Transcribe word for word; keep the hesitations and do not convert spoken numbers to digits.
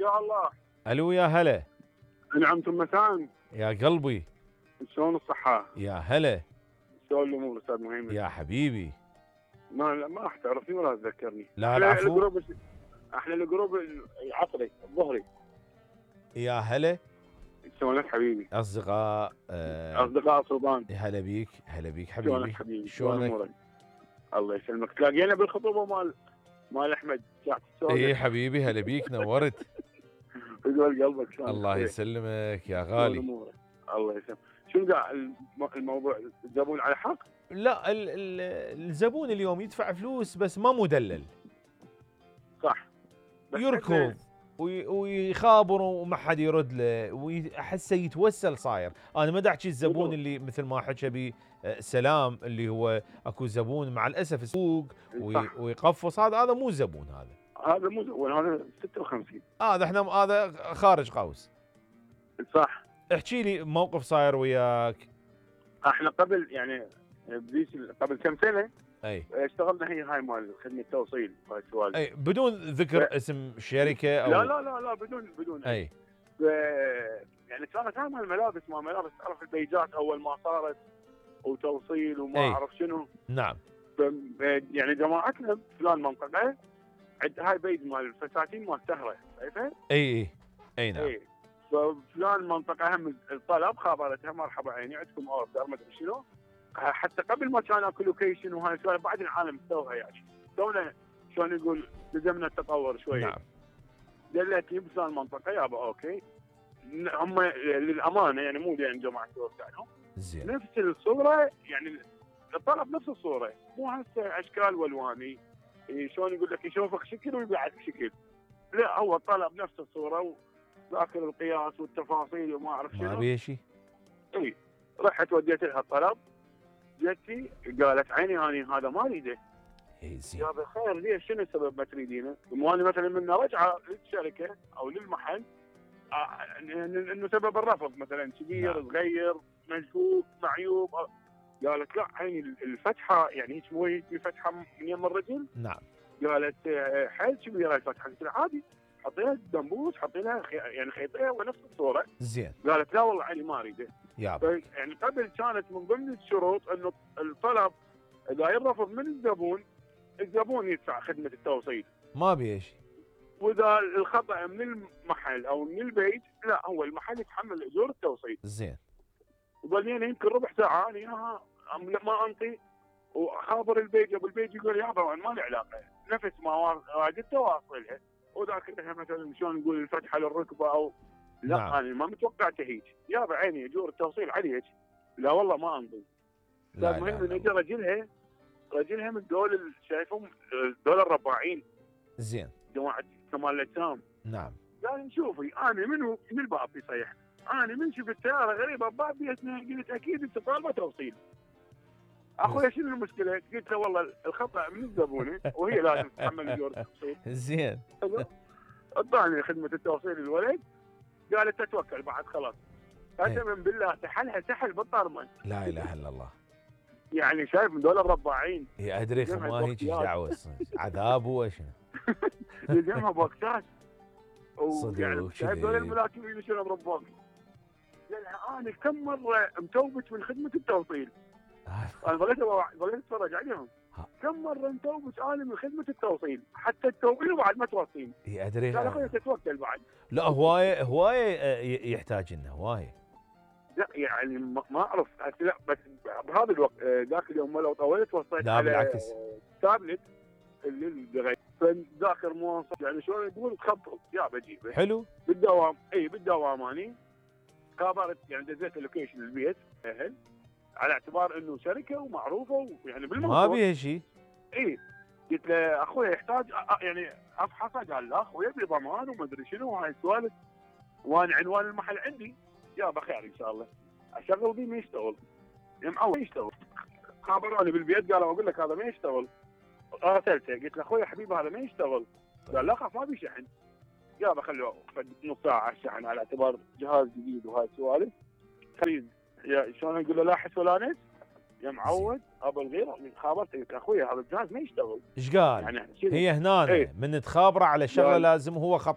يا الله. الو يا هلا. انعمتم مساء. يا قلبي. شلون الصحة؟ يا هلا. شلون الامور استاذ مهيمن؟ يا حبيبي. ما ما راح تعرفني ولا تذكرني. لا احنا العفو. الجروب احنا الجروب العصري الظهري. يا هلا. شلونك حبيبي؟ اصدقاء آه اصدقاء صوبان. هلا بيك هلا بيك شلونك حبيبي. حبيبي؟ شلون شلونك؟ امورك؟ الله يسلمك. تلاقينا بالخطوبة مال مال احمد ساعة السؤال. اي حبيبي هلا بيك نورت. يقول قلبك شلونك؟ الله خير. يسلمك يا شلون غالي. امورك؟ الله يسلمك. شنو قاع الم- الموضوع الزبون على حق؟ لا ال ال الزبون اليوم يدفع فلوس بس ما مدلل. صح. بس يركض وي- ويخابر وما حد يرد له واحسه يتوسل صاير. انا ما دا احكي الزبون بالضبط. اللي مثل ما حكى بي آه، سلام اللي هو اكو زبون مع الاسف السوق وي- صح. ويقفص، هذا هذا مو زبون هذا. هذا مو زبون، هذا ستة وخمسين. هذا احنا هذا خارج قوس. صح. احكي لي موقف صاير وياك. احنا قبل يعني بديش قبل كم سنه اي اشتغلنا هي هاي مال خدمه توصيل وهاي السوالف. اي بدون ذكر لا. اسم شركه او لا لا لا لا بدون بدون اي ف- يعني كانت هاي مال الملابس ما ملابس تعرف البيجات اول ما صارت وتوصيل وما أي. اعرف شنو. نعم ف- يعني جماعتنا فلان منطقه عند هاي بيج مال الفساتين مال سهره شايفه؟ اي اي اي نعم اي ففلان منطقه هم الطلب خابرتها مرحبا عيني عندكم اوردر ما ادري شنو. حتى قبل ما كان اكو لوكيشن وهاي السوالف بعد العالم سووها يعني تونا شلون يقول لزمنا التطور شويه. نعم دلت لي بفلان منطقه يابا اوكي. ن- هم للامانه يعني مو لان جماعه توسعهم زين نفس الصوره يعني الطلب نفس الصوره مو هسه اشكال والواني. إيه شلون يقول لك يشوفك شكل ويبيعك شكل. لا هو الطلب نفس الصوره وذاكر القياس والتفاصيل وما اعرف ما شنو. بيه شيء. اي رحت وديت لها الطلب جتي قالت عيني اني هذا ما اريده. اي زين يا بخير ليش شنو السبب ما تريدينه؟ مو انا مثلا من راجعه للشركه او للمحل آه، إن- انه سبب الرفض مثلا كبير نعم. صغير مشكوك معيوب آه. قالت لا عيني الفتحه يعني هيك مو هيك في فتحه من يم الرجل. نعم قالت آه، حيل كبيره الفتحه. قلت لها عادي حطي لها دمبوس حطي لها خي... يعني خيطيه ونفس الصوره. زين قالت لا والله عيني ما اريده. يابا ف- يعني قبل كانت من ضمن الشروط انه الطلب اذا يرفض من الزبون الزبون يدفع خدمه التوصيل. ما بيه شيء. واذا الخطا من المحل او من البيت لا هو المحل يتحمل اجور التوصيل. زين وظلينا يمكن ربع ساعه انا اياها أم- ما انطي وخابر البيج ابو البيج يقول يابا ما له علاقه نفس ما واجدت واصلها وذاك لها مثلا شلون نقول الفتحه للركبه او لا نعم. انا ما متوقعته هيك. يابا عيني اجور التوصيل عليك. لا والله ما انطي. لا المهم لا ان اجى لا رجلها رجلها من دول ال- شايفهم دول الرباعين زين جماعه كمال الاجسام. نعم قال شوفي انا منو من الباب يصيح انا من شفت سياره غريبه بباب بيتنا قلت اكيد انت طالبه توصيل. اخويا شنو المشكله؟ قلت له والله الخطا من الزبونه وهي لازم تتحمل اجور التوصيل. زين اعطاني خدمه التوصيل الولد قالت تتوكل بعد خلاص. إيه. قسما بالله سحلها سحل بالطرمن. لا اله الا الله. يعني شايف من دول الرباعين هي ادري جمعت ما هيك وقتيات. دعوه عذاب هو شنو. يلزمها بوكسات. صدق ويعني وكذا. شايف دول الملاكمين شنو بربوك. لأن انا كم مره متوبت من خدمه التوصيل. انا ظليت ظليت اتفرج عليهم. ها. كم مره متوبت انا من خدمه التوصيل حتى التوصيل وبعد ما توصيل. هي ادري. قال اخوي تتوكل بعد. لا هوايه هوايه آه، ي- يحتاج لنا هوايه. لا يعني ما ما اعرف هسه لا بس بهذا الوقت آه، ذاك اليوم لو طولت وصلت لا على بالعكس. آه، تابلت اللي الدغي فذاكر مواصف يعني شلون تقول تخبط يا بجيبه حلو. بالدوام اي بالدوام اني خابرت يعني دزيت اللوكيشن البيت اهل على اعتبار انه شركه ومعروفه ويعني ما بالمنطقه. بيها شيء. اي قلت له اخوي يحتاج أ- أ- يعني افحصه. قال لا اخوي يبي ضمان وما ادري شنو وهاي السوالف وانا عنوان المحل عندي. يابا خير ان شاء الله اشغل بيه ما يشتغل. يا معود ما يشتغل. خابروني بالبيت قالوا اقول لك هذا ما يشتغل. راسلته قلت له اخوي حبيبي هذا ما يشتغل. قال لا خاف ما في شحن. يابا خلوه نص ساعه على الشحن على اعتبار جهاز جديد وهاي السوالف. خليل يا شلون اقول له لا حس ولا نس يا معود ابو الغيره خابرته قلت له اخوي هذا الجهاز ما يشتغل. ايش قال؟ يعني هي هنا إيه. من تخابره على شغله قال- لازم هو خط